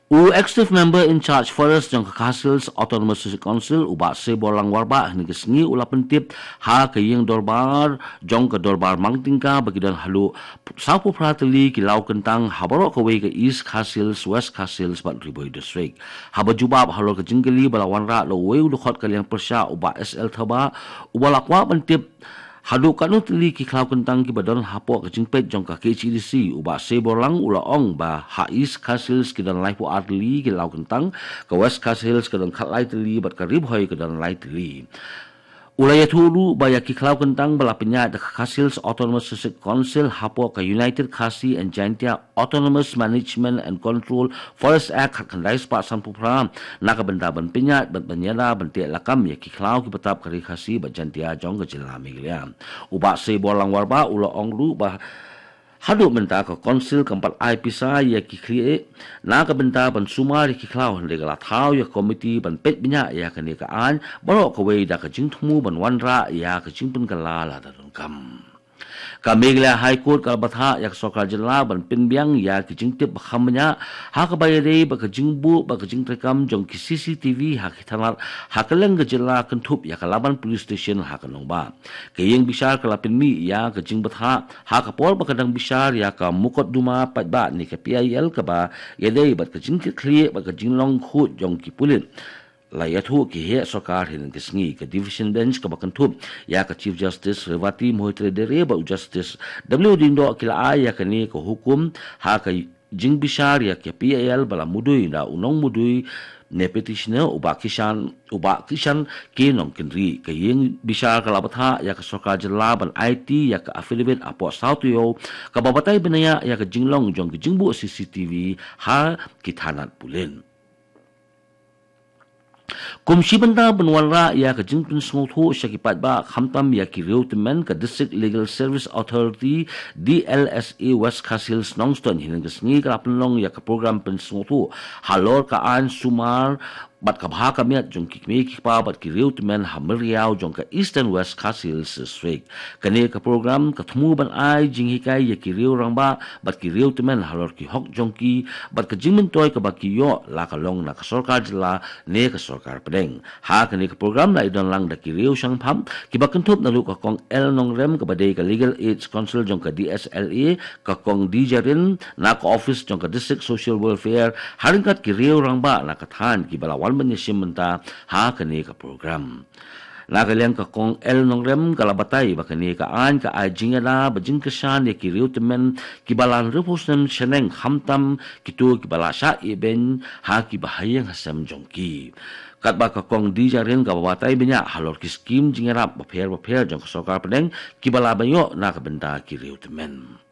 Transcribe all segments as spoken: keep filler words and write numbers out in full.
U Executive Member in Charge Forest jong ka Khasi Hills Autonomous District Council, u Bah Seiborlang Warbah, hynne ka sngi u la pyntip ha ka ïing dorbar jong ka dorbar Mangtyngka ba ki don haduh sawphew phra tylli ki law kyntang ha baroh kawei ka East Khasi Hills, West Khasi Hills bad Ri Bhoi District. Haba jubab halor ka jingkylli ba la wanrah da uwei u dkhot ka liang pyrshah, u Bah S L Thabah, uba la kwah ban tip haduh katno tylli ki khlaw kyntang kiba don hapoh ka jingpeit jong ka K H A D C, u Bah Seiborlang u la ong ba ha East Khasi Hills ki don laiphew ar tylli ki law kyntang, ka West Khasi Hills ka don khatlai tylli bad ka Ri Bhoi ka don lai tylli. U la ïathuh ruh ba ïa ki khlaw kyntang ba la pynïaid da ka Khasi Hills Autonomous District Council hapoh ka United Khasi and Jaintia Autonomous Management and Control Forest Act khatkhyndai spah sanphew phra, na ka bynta ban pynïaid bad ban ïada ban teh lakam ïa ki khlaw ki bynta ka Ri Khasi bad Jaintia jong ka jylla Meghalaya. U Bah Seiborlang Warbah u la ong ruh ba haduh mynta ka Council kam pat ai pisa ïa ki khlieh na ka bynta ban sumar ïa ki khlaw, hynrei ka la thaw ïa ka komiti ban peit bniah ïa kane ka aiñ baroh kawei da ka jingthmu ban wanrah ïa ka jingpynkylla lada donkam. Ka Meghalaya High Court ka la bthah ïa ka sorkar jylla ban pynbiang ïa ki jingtip ba kham bniah ha kaba ïadei bad ka jingbuh bad ka jingtreikam jong ki C C T V ha ki thanat ha kylleng ka jylla, kynthup ïa ka Laban Police Station ha ka nongbah. Ka ïing bishar ka la pynmih ïa ka jingbthah ha ka por ba ka dang bishar ïa ka mukotduma paidbah ne ka P I L kaba ïadei bad ka jingkitkhlieh bad ka jinglong khuid jong ki pulit. La ïathuh ki heh sorkar hynne ka sngi. Ka Division Bench kaba kynthup ïa ka Chief Justice Revati Mohit Reddy bad u Justice W Diengdoh ki la ai ïa kane ka hukum ha ka jingbishar ïa ka P I L ba la mudui da u nongmudui ne petitioner, u Bah Kishan, u Bah Kishan K Nongkynrih. Ka ïing bishar ka la bthah ïa ka sorkar jylla ban aiti ïa ka affidavit hapoh saw taïew kaba batai bniah ïa ka jinglong jong ka jingbuh C C T V ha ki thanat pulit. Kum shi bynta ban wanrah ïa ka jingpynsngewthuh sha ki paidbah khamtam ïa ki riew tymmen, ka District Legal Service Authority, D L S A, West Khasi Hills Nongstoiñ hynne ka sngi ka la pynlong ïa ka program pynsngewthuh halor ka aiñ sumar bad ka bha ka miat jong ki kmie ki kpa bad ki riew tymmen ha Myriaw jong ka Eastern West Khasi Hills District. Kane ka program ka thmu ban ai jinghikai ïa ki riew rangbah bad ki riew tymmen halor ki hok jong ki bad ka jingmyntoi kaba ki ïoh la ka long na ka sorkar jylla ne ka sorkar pdeng. Ha kane ka program la ïadon lang da ki riew shangpham kiba kynthup naduh ka Kong L Nongrem kaba dei ka Legal Aid Counsel jong ka D S L A, ka Kong D Jarin na ka office jong ka District Social Welfare, ha ryngkat ki riew rangbah na ka thaiñ kiba la wan ban ïashim bynta ha kane ka program. Na ka liang ka Kong L Nongrem ka la batai ba kane ka aiñ ka ai jingïada bad jingkyrshan ïa ki riew tymmen kiba la hynriewphew snem shaneng, khamtam kito kiba la shah ïehbeiñ ha ki bahaïing hasem jong ki. Katba ka Kong D Jarin ka batai bniah halor ki skim jingïarap bapher bapher jong ka sorkar pdeng kiba la ban ïoh na ka bynta ki riew tymmen.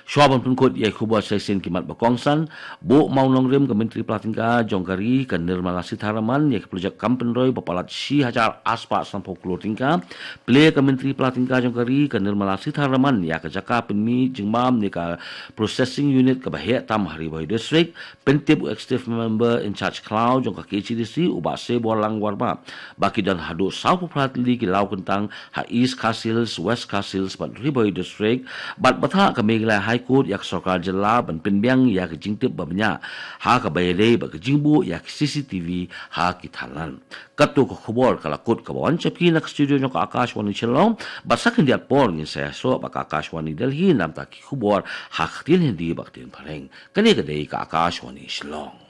Shuwa ban pynkut ïa ki khubor sa shisien ki mat ba kongsan, buh mawnongrim ka Myntri Pla Tyngka jong ka ri ka Nirmala Sitharaman ïa ki projek kam pynroi ba palat shi hajar arspah sanphew klur tyngka. Plie ka Myntri Pla Tyngka jong ka ri ka Nirmala Sitharaman ïa ka jaka pynmih jingbam ne ka processing unit kaba heh tam ha Ri Bhoi District. Pyntip u Executive Member in Charge khlaw jong ka K H A D C, u Bah Seiborlang Warbah, ba ki don haduh sawphew phra tylli ki law kyntang ha East Khasi Hills, West Khasi Hills bad Ri Bhoi District, bad bthah ka Meghalaya High Court ïa ka sorkar jylla ban pynbiang ïa ka jingtip ba bniah ha kaba ïadei bad ka jingbuh ïa ka C C T V ha ki thanat. Katto ka khubor ka la kut kaba wan sha phi na ka studio jong ka Akashvani Shillong, bad sa khyndiat por ngin sa ïasoh bad ka Akashvani Delhi namar ki khubor ha ka ktien Hindi bad ka ktien Phareng. Kane ka dei ka Akashvani Shillong.